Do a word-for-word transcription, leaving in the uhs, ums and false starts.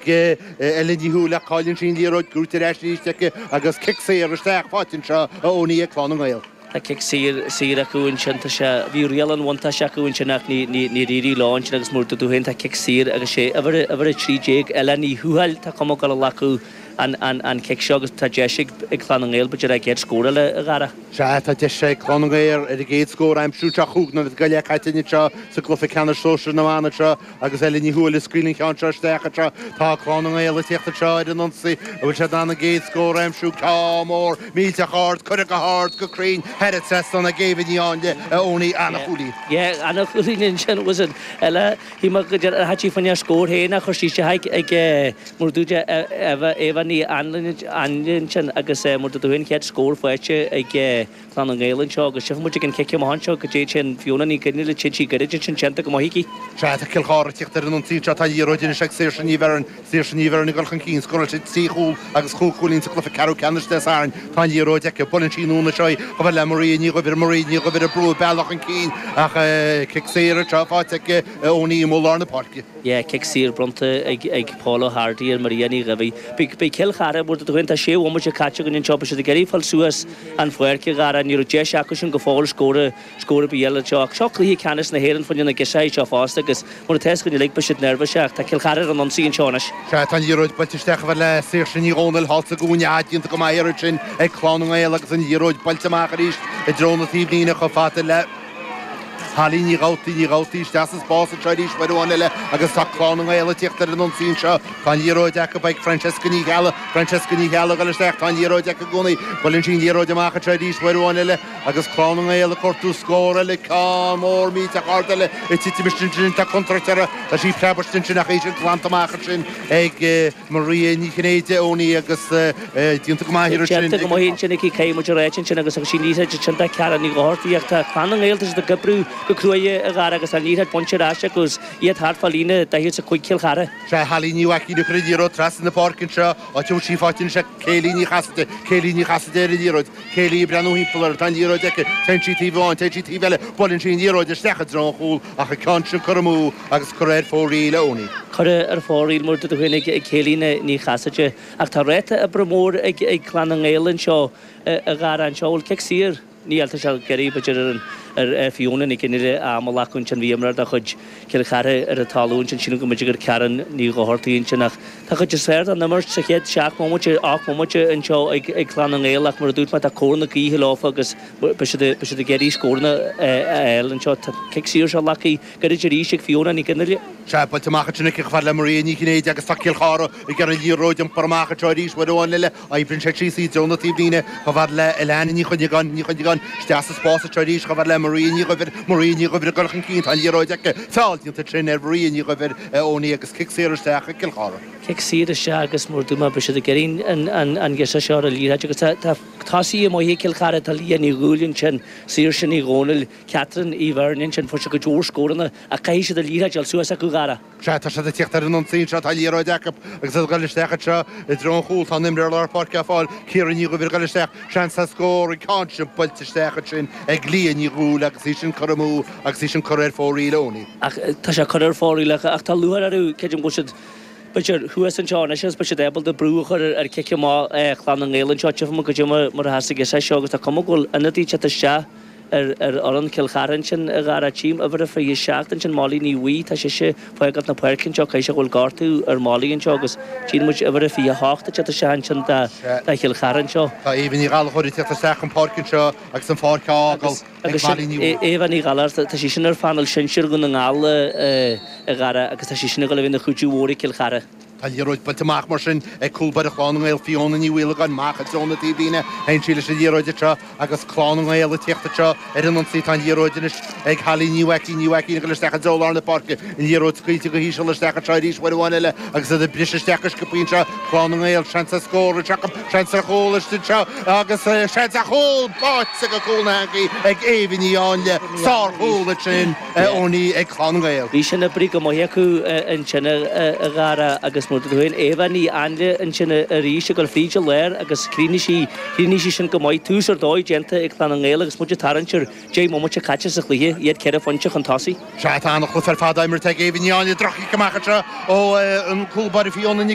Ellen Ní Thuathail ach cailleann sí an liathróid, gnóite ar ais arís aici agus cic saor isteach faighte anseo a Owenie ag Clann na nGael. Tá cic saor saor acu ansin tá sé bhí riail an bhuntáiste acu ansin ach ní ní níor éirigh leo ansin agus mar a dúirt tú féin tá cic saor agus sé uimhir uimhir a trí déag Ella Ní Thuathail tá cuma ag dul a ghlacadh an an an cic seo agus tá deis ag ag Clann na nGael b'fhéidir a gcéad scór eile a Dhara. Sea tá deis ag Clann na nGael ar a gcéad scór a aimsiú anseo cúig nóiméad go leith caite anseo sa gcluiche ceannais sóisir na mban anseo agus Ella Ní Thuathail ag scaoileadh an cheann seo isteach anseo. Tá Clann na nGael ag tíocht anseo ar an ionsaí. An bhfuil siad in ann an gcéad scór a aimsiú? Ceann mór millteach ard, curtha go hard, go cruinn, thar an trasnán ag Éabha Ní Áinle, a Owenie, ana-chúilín. Yeah, ana-chúilín ansin was it eile shíl mé go dtabharfadh sí faoina scór féin ach chuir sí isteach ag mar a dúirt Éabha Éabha Ní Áinle ansin agus mar a dúirt tú féin chéad scór faighte ag Clann na nGael anseo agus tchífidh muid ag an cic amach anseo go dtéann sé an Fiona Ní Gheinneile téann sí gairid ansin déanta go maith aici. Sea, tá Cill Chartha ag tíocht ar an ionsaí anseo, tá an liathróid anois ag Saoirse Ní Bheirn, Saoirse Ní Bheirn ag dul chun cinn, scóráil sí trí chúl agus chúig chúilín sa gcluiche ceathrú ceannais Dé Sathairn. Tá an liathróid aici, buaileann sí anonn anseo í chomh fada le Maria Ní Dhuibhir, Maria Ní Dhuibhir ag brú a bealach chun cinn ach cic saor anseo faighte aici Owenie amuigh i lár na páirce. Yeah, cic saor bronnta ag ag Paul O'Hardy ar Maria Ní Dhuibhir. Beidh beidh Cill Chartha, mar a dúirt tú féin, tá sé bhomaite caite againn anseo, beidh siad ag iarraidh fáil suas an pháirc a Dhara, ní raibh deis acu sin go fóill scór scór ar bith eile anseo. Ach seo cluiche ceannais na hÉireann fá choinne na girseachaí seo fosta agus mar atá fhios againn uilig beidh siad neirbhíseach. Tá Cill Chartha ar an ionsaí anseo anois. Sea, tá an liathróid buailte isteach chomh fada le Saoirse Ní Dhomhnaill thall sa gcúinne, déanta go maith ansin ag Clann na nGael agus an liathróid buailte amach arís i dtreo na taobhlíne chomh fada le Holly Ní Dhabhtaí, Ní Dhabhtaí isteach sa spás anseo arís uair amháin eile agus tá Clann na nGael ag tíocht ar an ionsaí anseo. Tá an liathróid acu ag Francesca Ní Cheallaigh, Francesca Ní Cheallaigh ag dul isteach, tá an liathróid aici i gcónaí. Buaileann sí an liathróid amach anseo arís uair amháin eile agus Clann na nGael ag cuartú scór eile, ceann mór millteach ard eile ag titim istigh ansin, tá contúirt uirthi, tá sí preabtha ansin ach í sin glanta amach ansin ag Maria Ní Chinnéide, Owenie, agus déanta go maith ansin. Déanta go maith ansin aici, caithfidh muid a ráit ansin agus agus sí liathróid ansin do Ceara Ní Dhochartaigh ach tá Clann na nGael tá siad ag oibriú go cruaidh a Dhara agus tá an liathróid bainte ar ais acu agus iad thart fá líne daichead is a cúig Chill Chartha. Sea, Holly Ní Mhaicín ag cur an liathróid trasna na páirce anseo, áit a bhfuil sí faighte anois ag Kayleigh Ní Chasaide, Kayleigh Ní Chasaide ar an liathróid, Kayleigh ag breathnú thimpeall uirthi, tá an liathróid aici, téann sí taobh amháin, téann sí taobh eile, buaileann sí an liathróid isteach i dtreo an chúil ach an ceann sin curtha amú agus curtha ar fóraoil a Owenie. Curtha ar fóraoil mar a dúirt tú féin ag Kayleigh Ní Chasaide ach tá ráta oibre mór ag ag Clann na nGael anseo a Dhara anseo bhfuil cic saor níl tá sé gairid b'fhéidir ar ar Fiona Ní Chinnéide am a ghlacadh ansin bhí imreoir de chuid Chill Chartha ar an talamh ansin sílim go mb'fhéidir gur Karen Ní Dhochartaigh ansin ach tá cuid is fearr den imirt sa chéad seacht mbomaite ocht mbomaite anseo ag ag Clann na nGael ach mar a dúirt mé tá cóir na gaoithe leofa agus beidh siad beidh siad ag iarraidh scóranna a fháil anseo tá cic saor seo glactha gairid arís ag Fiona Ní Chinnéide. Sea, buailte amach ansin aici chomh fada le Maria Ní Chinnéide agus tá Cill Chartha ag iarraidh an liathróid a iompar amach anseo arís uair amháin eile. Oibríonn sé síos i dtreo na taobhlíne chomh fada le Alana Ní Chuinneagáin, Ní Chuinneagáin isteach sa spás anseo arís chomh fada le Maria Ní Dhuibhir, Maria Ní Dhuibhir ag dul chun cinn, tá an liathróid aici, feall déanta ansin ar Mharia Ní Dhuibhir, a Owenie agus cic saor isteach ag Cill Chartha. Cic saor isteach agus mar a dúirt mé beidh siad ag iarraidh an an an girseach seo ar an liathróid agus tá tá tosaithe maithe ag Cill Chartha, tá Leah Ní Dhúill ansin, Saoirse Ní Dhomhnaill, Catherine Uí Bheirn ansin, fuair siad cuid mhór scóranna ach caithfidh siad an liathróid a fháil suas acu a Dhara. Sea, tá siad ag tíocht ar an ionsaí anseo, tá an liathróid acu agus iad ag dul isteach anseo i dtreo an chúil. Tá an imreoir lár páirce á fáil, Ciara Ní Dhuibhir ag dul isteach, seans ar scór, an ceann sin buailte isteach ansin ag Leah Ní Dhúill agus í sin curtha amú agus í sin curtha ar fóraoil, Owenie. Ach tá sé curtha ar fóraoil ach tá lúcháir orthu, creidim go bhfuil siad, b'fhéidir, thuas anseo anois agus beidh siad ábalta brú a chur ar chic amach Chlann na nGael anseo. Tchífidh muid goidé mar a sheas an girseach seo agus tá cuma go bhfuil ionadaí ag teacht isteach ar ar fhoireann Chill Chartha ansin a Dhara. Tchím uimhir a fiche seacht ansin, Molly Ní Bhuí, tá sise ag fágáilt na páirce anseo, caithfidh sé go bhfuil gortú ar Molly anseo agus tchíonn muid uimhir a fiche hocht ag teacht isteach ansin do do Chill Chartha anseo. Tá Éabha Ní Ghallchóir ag teacht isteach chun páirce anseo agus an pháirc á fhágáil ag Molly Ní Bhuí. Éabha Ní Ghallchóir, tá sí sin ar phainéal sinsir Dhún na nGall a Dhara agus tá sí sin ag dul a bheith ina chuidiú mhór ag Cill Chartha. Tá an liathróid buailte amach mar sin ag cúl báire Chlann na nGael, Fiona Ní Mhaolagáin, amach i dtreo na taobhlíne. Théann sí leis an liathróid anseo agus Clann na nGael ag tíocht anseo ar an ionsaí. Tá an liathróid anois ag Holly Ní Mhaicín, Ní Mhaicín ag dul isteach i dtreo lár na páirce. An liathróid scaoilte go híseal isteach anseo arís uair amháin eile agus iad ag briseadh isteach go sciobtha anseo. Clann na nGael, seans ar scór anseo acu, seans ar chúl istigh anseo agus seans ar chúl báite go cúl na heangaí ag Éabha Ní Áinle. Sárchúl ansin, Owenie, ag Clann na nGael. Bhí sin oibrithe go maith acu ansin a Dhara agus mar féin Éabha Ní Áinle ansin arís ag dul fríd an lár agus chríochnaigh sí chríochnaigh sí sin go maith tús ar dóigh déanta ag Clann na nGael agus muid ag tarraingt ar deich mbomaite caite sa chluiche iad ceithre phointe chun tosaigh. Sea tá an-chluiche ar fad imeartha ag Éabha Ní Áinle droch-chic amach anseo ó an cúl báire Fiona Nic